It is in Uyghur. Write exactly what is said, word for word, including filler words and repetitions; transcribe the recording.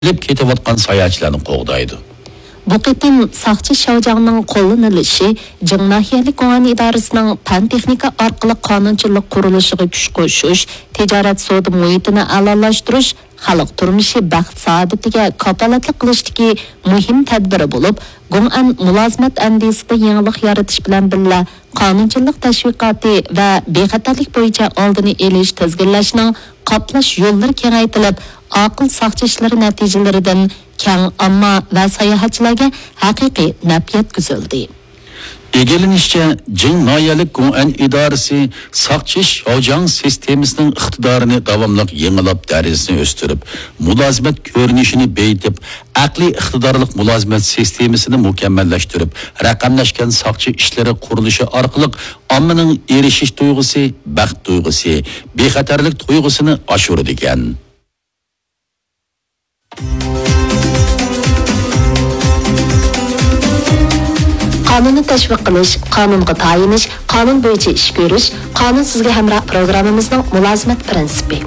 كېلىپ كېتىۋاتقان ساياھەتچىلەرنى قوغدايدۇ. بۇ قېتىم ساقچى شاۋجاڭنىڭ قوللىنىلىشى جىڭ ناھىيەلىك گوڭئەن ئىدارىسىنىڭ پەن-تېخنىكا ئارقىلىق قانۇنچىلىق قۇرۇلۇشىغا كۈچ قوشۇش، تىجارەت سودا مۇھىتىنى ئەلالاشتۇرۇش، خەلق تۇرمۇشى بەخت-سائادىتىگە كاپالەتلىك قىلىشتىكى مۇھىم تەدبىرى بولۇپ، گوڭئەن مۇلازىمەت ئەندىزىسىدە يېڭىلىق يارىتىش بىلەن بىللە، قانۇنچىلىق تەشۋىقاتى ۋە بىخەتەرلىك بويىچە ئالدىنى ئېلىش، تىزگىنلەشنىڭ قاپلاش يوللىرى كېڭەيتىلىپ، ئاقىل ساقچى ئىشلىرى نەتىجىلىرىدىن كەڭ ئامما ۋە ساياھەتچىلەرگە ھەقىقىي نەپ يەتكۈزۈلدى. ئىگىلىنىشىچە، جىڭ ناھىيەلىك گوڭئەن ئىدارىسى ساقچى شاۋجياڭ سىستېمىسىنىڭ ئىقتىدارىنى داۋاملىق يېڭىلاپ، دەرىجىسىنى ئۆستۈرۈپ، مۇلازىمەت كۆرۈنۈشىنى بېيىتىپ، ئەقلىي ئىقتىدارلىق مۇلازىمەت سىستېمىسىنى مۇكەممەللەشتۈرۈپ، رەقەملەشكەن ساقچى ئىشلىرى قۇرۇلۇشى ئارقىلىق ئاممىنىڭ ئېرىشىش تۇيغۇسى، بەخت تۇيغۇسى، بىخەتەرلىك تۇيغۇسىنى ئاشۇرىدىكەن. قانۇننى تەشۋىق قىلىش، قانۇنغا تايىنىش، قانۇن بويىچە ئىش كۆرۈش، قانۇن سىزگە ھەمراھ پروگراممىمىزنىڭ مۇلازىمەت پىرىنسىپى.